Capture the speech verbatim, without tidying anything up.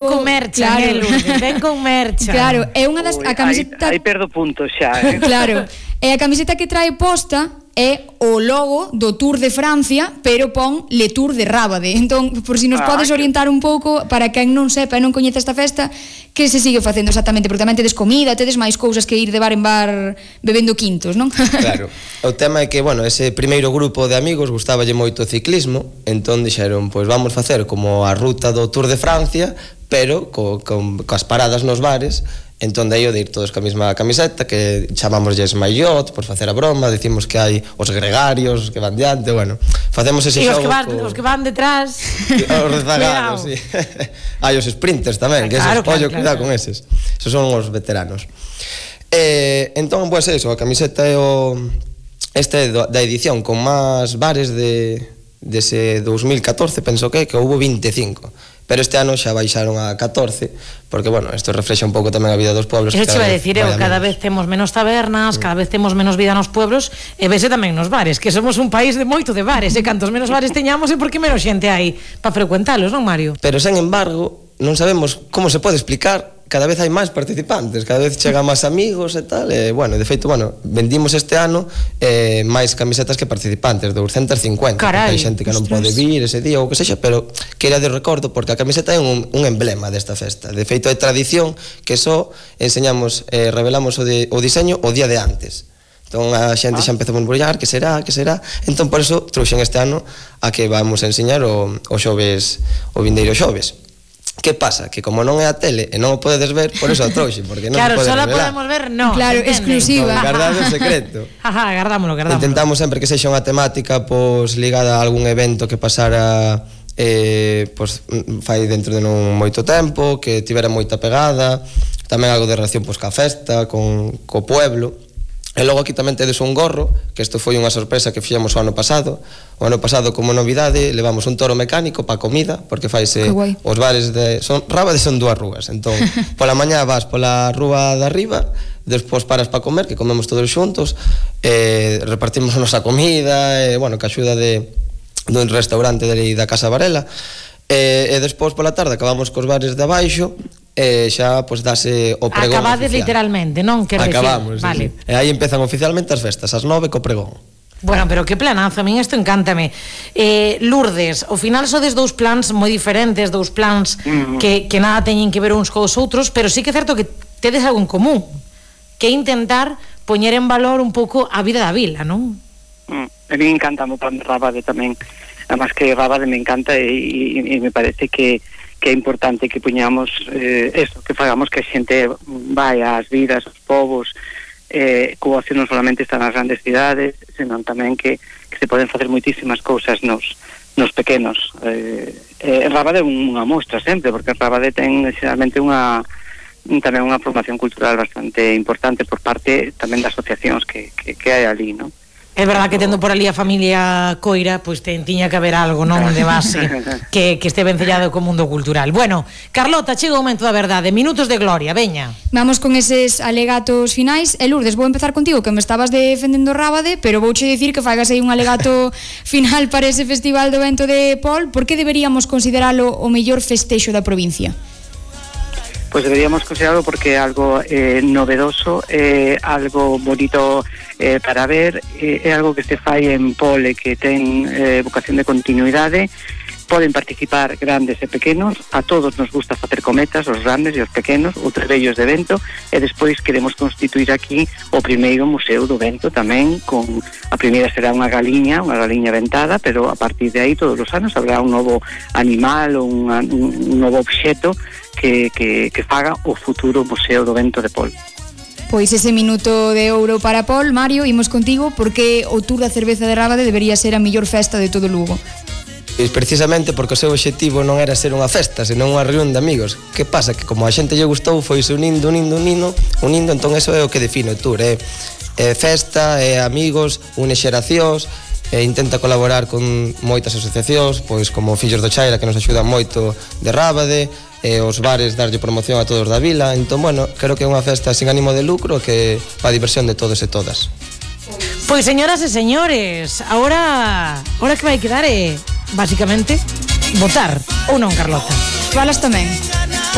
con mercha, claro. Lourdes, ven con mercha. Claro, é unha das... Ui, a camiseta... aí, aí perdo puntos xa, eh? Claro, e a camiseta que trae posta é o logo do Tour de Francia, pero pon Le Tour de Rábade. Entón, por si nos ah, podes orientar un pouco, para quen non sepa e non coñece esta festa, que se sigue facendo exactamente, porque tamén tedes comida, tedes máis cousas que ir de bar en bar bebendo quintos, non? Claro, o tema é que, bueno, ese primeiro grupo de amigos gustaballe moito o ciclismo, entón dixeron, pois vamos facer como a ruta do Tour de Francia, pero co, co, coas paradas nos bares. Entón de aí o de ir todos ca mesma camiseta, que chamámosles maillot por facer a broma, decimos que hai os gregarios que van diante, bueno, facemos ese xogo. E os que van, co... os que van detrás. Os rezagados, sí. Hai os sprinters tamén, que claro, esos, claro, pollo, claro, cuidado claro. Con eses. Esos son os veteranos. Eh, entón, pois pues eso, a camiseta é o este da edición con máis bares de dese dos mil catorce, penso que que houve vinte e cinco. Pero este ano xa baixaron a catorce, porque, bueno, isto reflexa un pouco tamén a vida dos pueblos. Eso che vai decir, eu, cada vez temos menos tabernas, mm. cada vez temos menos vida nos pueblos, e vese tamén nos bares, que somos un país de moito de bares, e cantos menos bares teñamos é porque menos xente hai para frecuentalos, non, Mario? Pero, sen embargo, non sabemos como se pode explicar, cada vez hai máis participantes, cada vez chegan máis amigos e tal, e, bueno, de feito, bueno, vendimos este ano eh, máis camisetas que participantes, doscientos cincuenta. Carai, hai xente que non pode vir ese día ou que sexa, pero queira de recordo, porque a camiseta é un, un emblema desta festa. De feito, é tradición que só enseñamos, eh, revelamos o, de, o diseño o día de antes. Entón a xente ah. xa empezou a embrullar, que será, que será. Entón por eso trouxen este ano a que vamos a enseñar o, o xoves, o vindeiro xoves. Que pasa? Que como non é a tele e non o podedes ver, por eso a trouxe, porque non claro, se pode revelar. Claro, só podemos ver, non. Claro, exclusiva. No, guardado o secreto. Ajá, gardámoslo, gardámoslo. Intentamos sempre que sexa unha temática pois ligada a algún evento que pasara eh, pois, fai dentro de non moito tempo, que tivera moita pegada, tamén algo de relación pois, ca festa, con, co pueblo. E logo aquí tamén tedes un gorro, que isto foi unha sorpresa que fixemos o ano pasado. O ano pasado, como novidade, levamos un toro mecánico para comida, porque faise os bares de... Son, Rábade son dúas rúas, entón, pola mañá vas pola rúa de arriba, despois paras para comer, que comemos todos xuntos, eh, repartimos a nosa comida, e, bueno, que axuda de, dun restaurante de, da Casa Varela, e, e despois pola tarde acabamos cos bares de abaixo, e xa pois dase o pregón. Acabades oficial. Literalmente, non? Que acabamos, vale. Sí. E aí empezan oficialmente as festas, as nove co pregón. Bueno, pero que planazo, a min isto encántame. eh, Lourdes, ao final sodes dous plans moi diferentes, dous plans mm-hmm. que, que nada teñen que ver uns cos outros, pero sí que é certo que tedes algo en común, que é intentar poñer en valor un pouco a vida da vila, non? Mm, a mí me encanta o plan de Rábade tamén, además que Rábade me encanta e, e, e me parece que que é importante que puñamos eh, eso, que fagamos que a xente vai ás vidas, aos povos, eh, que o ocio non solamente está nas grandes cidades, senón tamén que, que se poden facer moitísimas cousas nos, nos pequenos. Eh, eh, Rábade é unha mostra sempre, porque Rábade ten xeralmente unha tamén unha formación cultural bastante importante por parte tamén das asociacións que, que, que hai ali, non? É verdad que tendo por ali a familia Coira, pois ten, tiña que haber algo, non, de base que, que este vencellado co mundo cultural. Bueno, Carlota, chega o momento da verdade, minutos de gloria, veña. Vamos con eses alegatos finais. E Lourdes, vou empezar contigo, que me estabas defendendo Rábade, pero vouche dicir que fagas aí un alegato final para ese Festival do Vento de Pol. Por que deberíamos consideralo o mellor festexo da provincia? Pues deberíamos considerarlo porque é algo eh, novedoso, é eh, algo bonito eh, para ver, eh, é algo que se fai en Pol e que ten eh, vocación de continuidade. Poden participar grandes e pequenos, a todos nos gusta facer cometas, os grandes e os pequenos, os trebellos de vento, e despois queremos constituir aquí o primeiro museo do vento tamén, con a primeira será unha galiña, unha galiña ventada, pero a partir de aí todos os anos habrá un novo animal ou un, un novo obxeto que, que, que faga o futuro Museo do Vento de Pol. Pois ese minuto de ouro para Pol. Mario, imos contigo, porque o Tour da Cerveza de Rábade debería ser a mellor festa de todo Lugo. Precisamente porque o seu obxectivo non era ser unha festa, senón unha reunión de amigos. Que pasa? Que como a xente lle gustou, foise unindo, unindo, unindo, unindo, entón eso é o que define o Tour, é, é festa, é amigos, une xeracións, e intenta colaborar con moitas asociacións, pois como Fillos do Chaira, que nos axudan moito de Rábade, e os bares darlle promoción a todos da vila. Entón, bueno, creo que é unha festa sin ánimo de lucro, que para a diversión de todos e todas. Pois señoras e señores, ahora ahora que vai quedar é basicamente votar, ou non, Carlota? Falas tamén.